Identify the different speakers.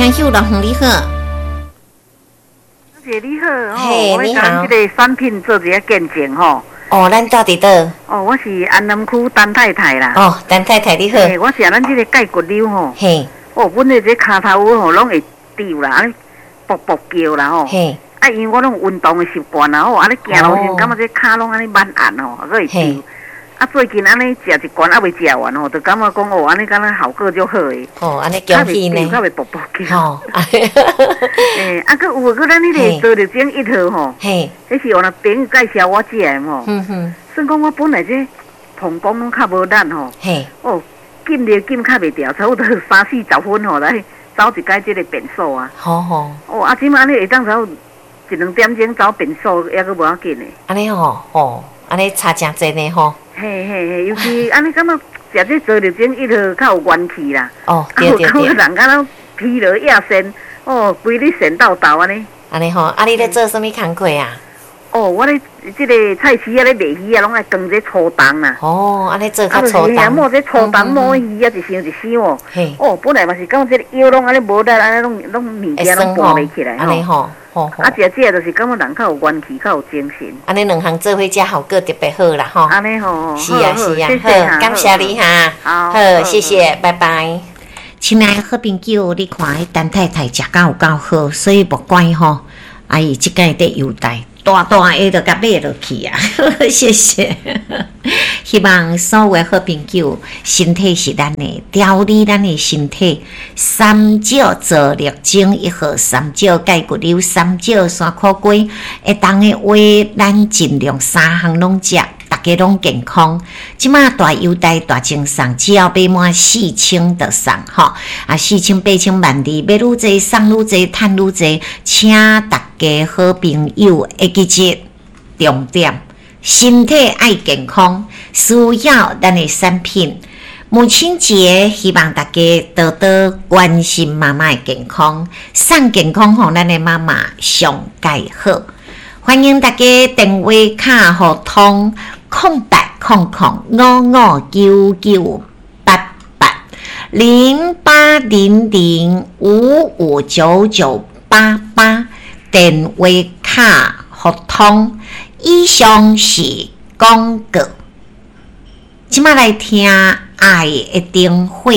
Speaker 1: 聽友樂你好。
Speaker 2: 姐你好，
Speaker 1: 嘿，
Speaker 2: 我
Speaker 1: 你好。
Speaker 2: 這个產品做一下見證吼。
Speaker 1: 哦，咱住佇佗？
Speaker 2: 哦，我是安南區陳太太啦。
Speaker 1: 哦，陳太太你好。
Speaker 2: 嘿，我是咱這个蓋骨瘤吼。哦，本來這跤頭吼攏會丟啦，按呢噗噗叫啦吼。啊，因為我攏有運動的習慣啦吼，按呢行路時感覺這跤攏按呢慢按吼，閣會丟。啊，最近按呢食一罐猶未食完吼，就感覺講哦，按呢敢若效果足好的。
Speaker 1: 哦，按呢恭喜呢。
Speaker 2: 較袂噗噗叫。欸，啊，閣有閣咱彼个多力精一號吼。彼是有那朋友介紹我食的吼。算講我本來這膀胱攏較無力吼。哦，禁尿禁較袂牢，差不多三四十分吼來走一擺這个便所啊。哦，啊，這馬按呢會當走一兩點鐘走便所，猶閣無要緊的。
Speaker 1: 按呢吼，吼，按呢差誠濟呢吼。
Speaker 2: 嘿嘿嘿，尤其按呢感覺食這多力精一號較有元氣啦。啊，有感覺人敢若疲勞亞神，哦，規日神叨叨按呢。
Speaker 1: 按呢吼，啊，你咧做啥物工課啊？
Speaker 2: 哦，我咧這个菜市仔咧賣魚仔，攏愛扛這粗重啦。
Speaker 1: 哦，按呢做較粗重。
Speaker 2: 摸這粗重摸魚仔，一箱一箱哦。哦，本來嘛是感覺這個腰攏按呢無力，按呢攏攏物件攏搬袂起來吼。
Speaker 1: 按呢吼。
Speaker 2: 啊，食食就是感覺人較有元氣，較有精神。
Speaker 1: 按呢兩項做伙食效果特別好啦吼。
Speaker 2: 按呢吼。
Speaker 1: 是啊是啊，好，感謝你哈。好，謝謝，拜拜。親愛的好朋友，你看彼陳太太食甲有夠好，所以無怪吼，啊伊這擺佇優待。大大的就共買落去啊！謝謝。希望所有的好朋友，身體是咱的，調理咱的身體。三少造力精一號，三少鈣骨瘤，三少山苦瓜，會當的話，咱盡量三項攏食，大家攏健康。這馬大優待大贈送，只要買滿4000就送吼。啊，四千八千萬二，買愈濟送愈濟，趁愈濟，請大家好朋友會記得重點，身體愛健康，需要咱的產品。母親節，希望大家多多關心媽媽的健康，送健康予咱的媽媽上蓋好。歡迎大家電話卡予通08005599880800559988。電話卡予通，以上是廣告。這馬來聽愛的燈火。